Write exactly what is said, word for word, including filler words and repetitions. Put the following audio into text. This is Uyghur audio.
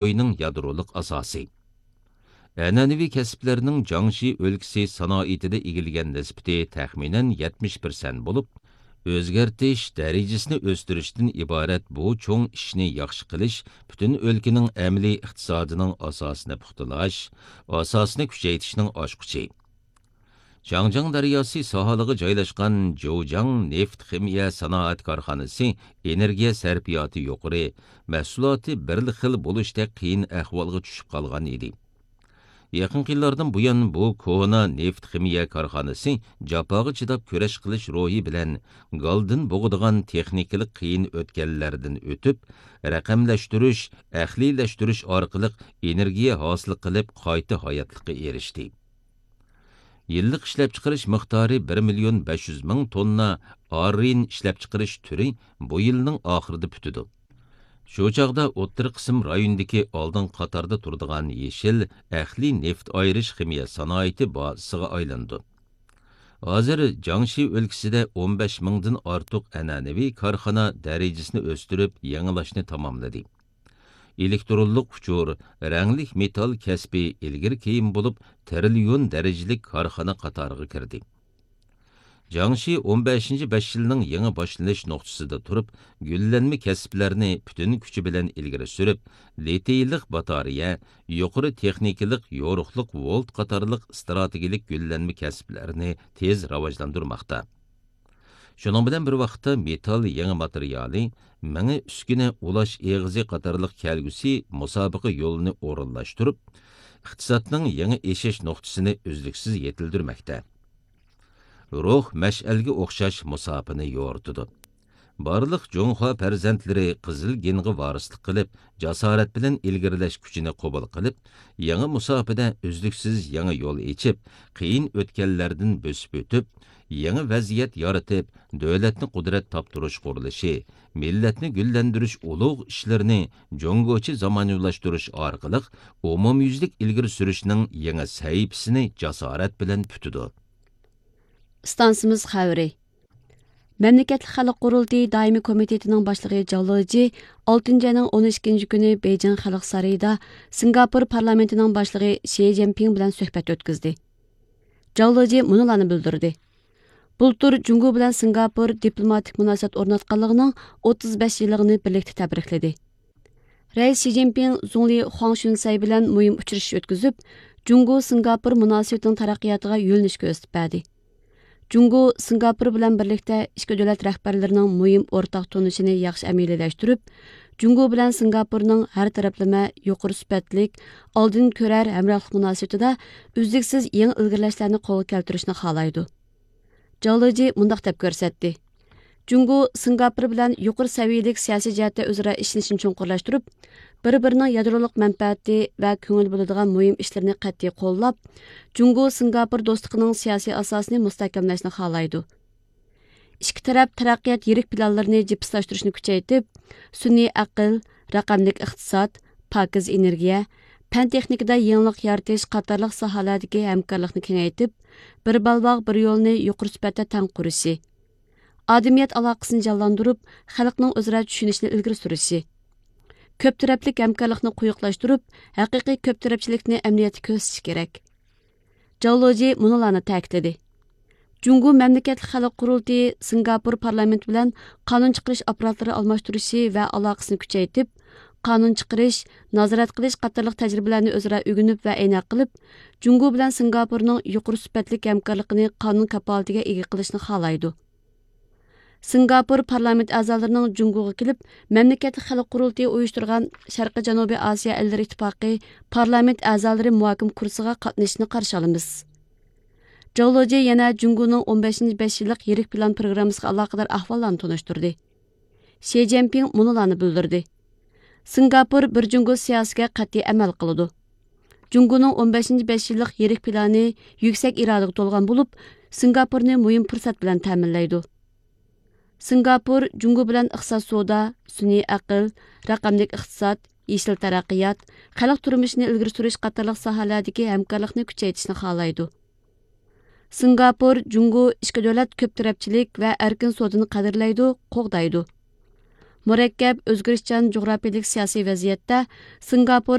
خۇينىڭ يادرولۇق ئاساسى. ئەنئەنىۋى كەسىپلەرنىڭ جياڭشى ئۆلكىسى سانائىتىدە ئىگىلىگەن نىسبىتى تەخمىنەن يەتمىش پىرسەنت بولۇپ، ئۆزگەرتىش، دەرىجىسىنى ئۆستۈرۈشتىن ئىبارەت بۇ چوڭ ئىشنى ياخشى قىلىش پۈتۈن ئۆلكىنىڭ ئەمەلىي ئىقتىسادىنىڭ ئاساسىنى پۇختىلاش، ئاساسىنى كۈچەيتىشنىڭ ئاچقۇچى. چاڭجياڭ دەرياسى ساھىلىغا جايلاشقان جوجياڭ نېفىت خىمىيە سانائەت كارخانىسى ئېنېرگىيە سەرپىياتى يۇقىرى، مەھسۇلاتى بىرلا خىل بولۇشتەك قىيىن ئەھۋالغا چۈشۈپ قالغان ئىدى. يېقىنقى يىللاردىن بۇيان بۇ كونا نېفىت خىمىيە كارخانىسى جاپاغا چىداپ كۈرەش قىلىش روھى بىلەن گالدىن بوغىدىغان تېخنىكىلىق قىيىن ئۆتكەللەردىن ئۆتۈپ، رەقەملەشتۈرۈش، ئەقلىيلەشتۈرۈش ئارقىلىق ئېنېرگىيە ھاسىل قىلىپ، قايتا ھاياتلىققا ئېرىشتى. يىللىق ئىشلەپچىقىرىش مىقدارى بىر مىليون بەش يۈز مىڭ توننا ئاررىن ئىشلەپچىقىرىش تۈرى بۇ يىلنىڭ ئاخىرىدا پۈتىدۇ. شۇ چاغدا ئوتتۇرا قىسىم رايونىدىكى ئالدىنقى قاتاردا تۇرىدىغان يېشىل، ئەقلىي نېفىت ئايرىش خىمىيە سانائىتى بازىسىغا ئايلىنىدۇ. ھازىر جياڭشى ئۆلكىسىدە ئون بەش مىڭدىن ئارتۇق ئەنئەنىۋى كارخانا دەرىجىسىنى ئۆستۈرۈپ، يېڭىلاشنى تاماملىدى. ئېلېكترونلۇق ئۇچۇر، رەڭلىك مېتال كەسپى ئىلگىرى كېيىن بولۇپ، تىرىليون دەرىجىلىك كارخانا قاتارىغا كىردى. جياڭشى ئون بەشىنچى بەش يىلنىڭ يېڭى باشلىنىش نۇقتىسىدا تۇرۇپ، گۈللەنمە كەسىپلەرنى پۈتۈن كۈچى بىلەن ئىلگىرى سۈرۈپ، لىتىيلىق باتارېيە، يۇقىرى تېخنىكىلىق يورۇقلۇق ۋولت قاتارلىق ئىستراتېگىيەلىك گۈللەنمە كەسىپلەرنى تېز راۋاجلاندۇرماقتا. شۇنىڭ بىلەن بىر ۋاقىتتا، مېتال يېڭى ماتېرىيالى، مېڭە ئۈسكۈنە ئۇلاش ئېغىزى قاتارلىق كەلگۈسى مۇسابىقە يولىنى ئورۇنلاشتۇرۇپ، ئىقتىسادنىڭ يېڭى ئېشىش نۇقتىسىنى ئۈزلۈكسىز يېتىلدۈرمەكتە. روھ مەشئەلگە ئوخشاش مۇساپىنى يورۇتىدۇ. بارلىق جۇڭخۇا پەرزەنتلىرى قىزىل گېنغا ۋارىسلىق قىلىپ، جاسارەت بىلەن ئىلگىرىلەش كۈچىنى قوبۇل قىلىپ، يېڭى مۇساپىدە ئۈزلۈكسىز يېڭى يول ئېچىپ، قىيىن ئۆتكەللەردىن بۆسۈپ ئۆتۈپ، يېڭى ۋەزىيەت يارىتىپ، دۆلەتنى قۇدرەت تاپتۇرۇش قۇرۇلۇشى، مىللەتنى گۈللەندۈرۈش ئۇلۇغ ئىشلىرىنى جۇڭگوچە زامانىۋىلاشتۇرۇش ئارقىلىق ئومۇميۈزلۈك ئىلگىرى سۈرۈشنىڭ يېڭى سەھىپىسىنى جاسارەت بىلەن پۈتىدۇ. ئىستانسىمىز خەۋىرى. مەملىكەتلىك خەلق قۇرۇلتىيى دائىمىي كومىتېتىنىڭ باشلىقى جاۋ لېجى ئالتىنچى ئاينىڭ ئون ئىككىنچى كۈنى بېيجىڭ خەلق سارىيىدا سىنگاپور پارلامېنتىنىڭ باشلىقى شى جىنپىڭ بىلەن سۆھبەت ئۆتكۈزدى. جاۋ لېجى مۇنۇلارنى بىلدۈردى: بۇلتۇر جۇڭگو بىلەن سىنگاپور دىپلوماتىك مۇناسىۋەت ئورناتقانلىقىنىڭ ئوتتۇز بەش يىللىقىنى بىرلىكتە تەبرىكلىدى. رەئىس شى جىنپىڭ زۇڭلى خۇاڭ شۈنسەي بىلەن مۇھىم ئۇچرىشىش ئۆتكۈزۈپ، جۇڭگو سىنگاپور مۇناسىۋىتىنىڭ تەرەققىياتىغا يۆنىلىش كۆرسىتىپ بەردى. جۇڭگو سىنگاپور بىلەن بىرلىكتە ئىككى دۆلەت رەھبەرلىرىنىڭ مۇھىم ئورتاق تونۇشىنى ياخشى ئەمەلىيلەشتۈرۈپ، جۇڭگو بىلەن سىنگاپورنىڭ ھەر تەرەپلىمە يۇقىرى سۈپەتلىك، ئالدىن كۆرەر ھەمراھلىق مۇناسىۋىتىدە ئۈزلۈكسىز يېڭى ئىلگىرىلەشلەرنى قولغا كەلتۈرۈشنى خالايدۇ. جاۋ لېجى مۇنداق دەپ كۆرسەتتى: جۇڭگو سىنگاپور بىلەن يۇقىرى سەۋىيەلىك سىياسىي جەھەتتە ئۆزئارا ئىشىنىشنى چوڭقۇرلاشتۇرۇپ، بىر-بىرىنىڭ يادرولۇق مەنپەئەتى ۋە كۆڭۈل بۆلىدىغان مۇھىم ئىشلىرىنى قەتئىي قوللاپ، جۇڭگو سىنگاپور دوستلۇقىنىڭ سىياسىي ئاساسىنى مۇستەھكەملەشنى خالايدۇ. ئىككى تەرەپ تەرەققىيات يىرىك پىلانلىرىنى جىپسىلاشتۇرۇشنى كۈچەيتىپ، سۈنئىي ئەقىل، رەقەملىك ئىقتىساد، پاكىز ئېنېرگىيە، پەن تېخنىكىدا يېڭىلىق يارىتىش قاتارلىق ساھەلەردىكى ھەمكارلىقنى كېڭەيتىپ، بىر بەلباغ بىر يولنى يۇقىرى سۈپەتتە تەڭ قۇرۇشى، ئادەمىيەت ئالاقىسىنى جانلاندۇرۇپ، خەلقنىڭ ئۆزئارا چۈشىنىشىنى ئىلگىرى سۈرۈشى، كۆپ تەرەپلىك ھەمكارلىقنى قويۇقلاشتۇرۇپ، ھەقىقىي كۆپ تەرەپچىلىكنى ئەمەلىيەتتە كۆرسىتىشى كېرەك. جاۋ لېجى مۇنۇلارنى تەكىتلىدى: جۇڭگو مەملىكەتلىك خەلق قۇرۇلتىيى سىنگاپور پارلامېنتى بىلەن قانۇن چىقىرىش ئاپپاراتلىرى ئالماشتۇرۇشى ۋە ئالاقىسىنى كۈچەيتىپ، قانۇن چىقىرىش، نازارەت قىلىش قاتارلىق تەجرىبىلەرنى ئۆزئارا ئۆگىنىپ ۋە ئەينەك قىلىپ، جۇڭگو بىلەن سىنگاپورنىڭ يۇقىرى سۈپەتلىك ھەمكارلىقىنى قانۇن كاپالىتىگە ئىگە قىلىشنى خالايدۇ. سىنگاپور پارلامېنت ئەزالىرىنىڭ جۇڭگوغا كېلىپ، مەملىكەتلىك خەلق قۇرۇلتىيى ئۇيۇشتۇرغان شەرقىي جەنۇبىي ئاسىيا ئەللىرى ئىتتىپاقى پارلامېنت ئەزالىرى مۇھاكىمە كۇرسىغا قاتنىشىشىنى قارشى ئالىمىز. جاۋ لېجى يەنە جۇڭگونىڭ ئون بەشىنچى بەش يىللىق يىرىك پىلان پروگراممىسىغا ئالاقىدار ئەھۋاللارنى تونۇشتۇردى. شى جىنپىڭ مۇنۇلارنى بىلدۈردى: سىنگاپور بىر جۇڭگو سىياسىتىگە قەتئىي ئەمەل قىلىدۇ. جۇڭگونىڭ ئون بەشىنچى بەش يىللىق يىرىك پىلانى يۈكسەك ئىرادىگە تولغان بولۇپ، سىنگاپورنى مۇھىم پۇرسەت بىلەن تەمىنلەيدۇ. سىنگاپور جۇڭگو بىلەن ئىقتىساد، سودا، سۈنئىي ئەقىل، رەقەملىك ئىقتىساد، يېشىل تەرەققىيات، خەلق تۇرمۇشىنى ئىلگىرى سۈرۈش قاتارلىق ساھەلەردىكى ھەمكارلىقنى كۈچەيتىشنى خالايدۇ. سىنگاپور جۇڭگو ئىككى دۆلەت كۆپ تەرەپچىلىك ۋە ئەركىن سودىنى قەدىرلەيدۇ، قوغدايدۇ. مۇرەككەپ، ئۆزگىرىشچان جۇغراپىيىلىك سىياسىي ۋەزىيەتتە سىنگاپور